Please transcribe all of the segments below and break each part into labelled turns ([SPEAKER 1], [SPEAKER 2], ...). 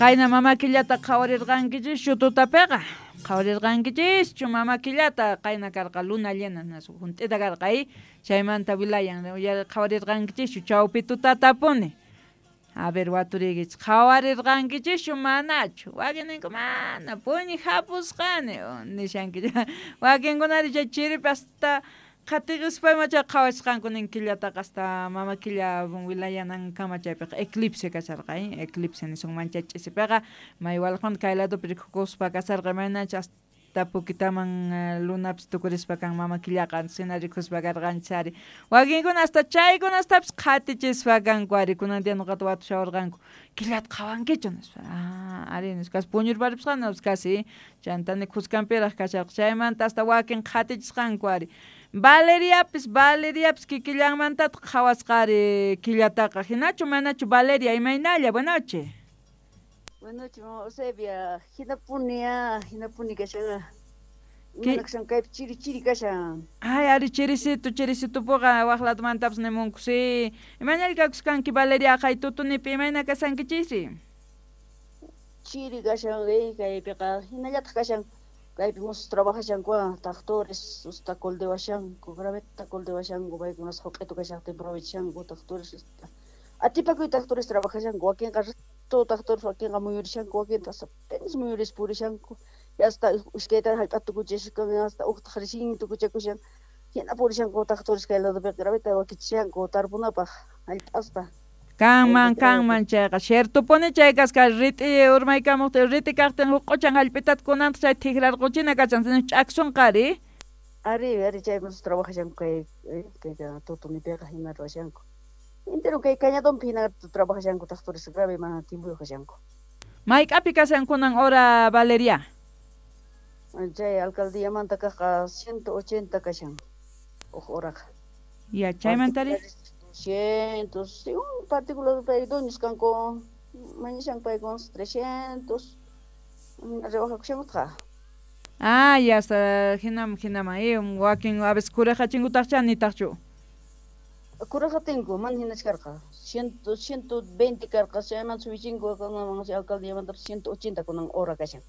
[SPEAKER 1] Qayna mama killata qhawarirqankichischu tutapiqa? Qhawarirqankichischu mama killata? Qayna karqa luna llena hunt'ita karqa chaymanta wilayan qhawarirqankichischu chawpi tutatapuni. A ver, waturiykichis qhawarirqankichischu manachu? Wakinninku mana puñi hapusqani nishankichis. Wakinkunari chay chiripi hasta qhatiqispa ima chay qhawasqanku nin killataqa hasta mama killa wilayanankama chaypiqa eclipse kasharqa, eclipse nisunman chay ch'isipiqa may walqmanta kay ladopi rikukuspa kasharqa imaynachus hasta pukitaman lunapis tukurispa kan mama killaqa hina rikuspa karqanchis ari. Wakinkuna hasta chaykunastapis qhatichispa kanku ari kunan día nuqata watushawarqanku killata qhawankichu nispa. Ah, ari nispa puñurparipusqani casi chantani khuskanpiraq kasharqa chaymanta hasta wakin qhatichisqanku ari. Valeriapis Valeriapis kikillanmantataq qhawasqa ari killataqa hinachu manachu Valeria imaynalla buenas noches.
[SPEAKER 2] Buenas noches, mama Eusebia. Hinapuni hinapuni kashan. Imayna kashan kaypi chiri chiri kashan.
[SPEAKER 1] Ay, ari chirisito, chirisitupuqa waq ladomantapas nimunku si. Imaynalla kakusqanki Valeria qay tutunipi imayna kashankichisri?
[SPEAKER 2] Chiri kashan kaypiqa hinallataq kashan. Kaypi musus trabajashanku tractores usta coldewashanku, graveta coldewashanku, paykunas joq'etu kashaqtin aprovechanku tractores. Atipakuy tractores trabajashanku, wakinqa todo tractores wakinqa muyurishanku, wakintaq apenas muyuris purishanku. Hasta iskayta hallp'ata tukuchishan, hasta uqtaq recién tukuchakushan. Hina purishanku tractores kay ladopiqa graveta wakichishanku tarpunapaq hallp'asta.
[SPEAKER 1] Kanman, kanman chayqa ciertopuni chay kasqa rit'i urmaykamuqtin rit'i kaqtin huq'uchan hallp'itata kunantaq chay tikrarquchina kachan ch'aksunqa ari.
[SPEAKER 2] Ari, ari chay musus trabajashanku kay kay tutunipiqa hina ruwashanku. Entero kay cañadonpi hina trabajashanku tractores grave mana tiempoyuq kashanku.
[SPEAKER 1] Mayk'api kashan kunan hora Valeria?
[SPEAKER 2] Chay alcaldíamanta kaqqa 180 kashan huk horaqa.
[SPEAKER 1] Ya, chaymantari?
[SPEAKER 2] 200, según particular pay dueños kanku, mañashanku paykunas 300, rebajakushankutaq.
[SPEAKER 1] Ah, ya hasta hinam hinaman wakin a veces kuraqachinkutaqcha nitaqchu.
[SPEAKER 2] Kuraqatinku mana hinachu karqa 120 karqa chaymanta subichinku kunaman alcaldíamanta 180 kunan hora kashan.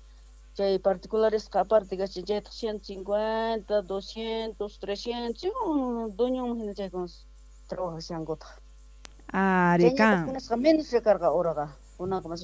[SPEAKER 2] Chay particularesqa aparte kashan chaytaq 150, 200, 300, según dueñonman hina chaykunas trabajashankutaq.
[SPEAKER 1] Ari kan.
[SPEAKER 2] Kunasqa menos karqa horaqa kunanqa mas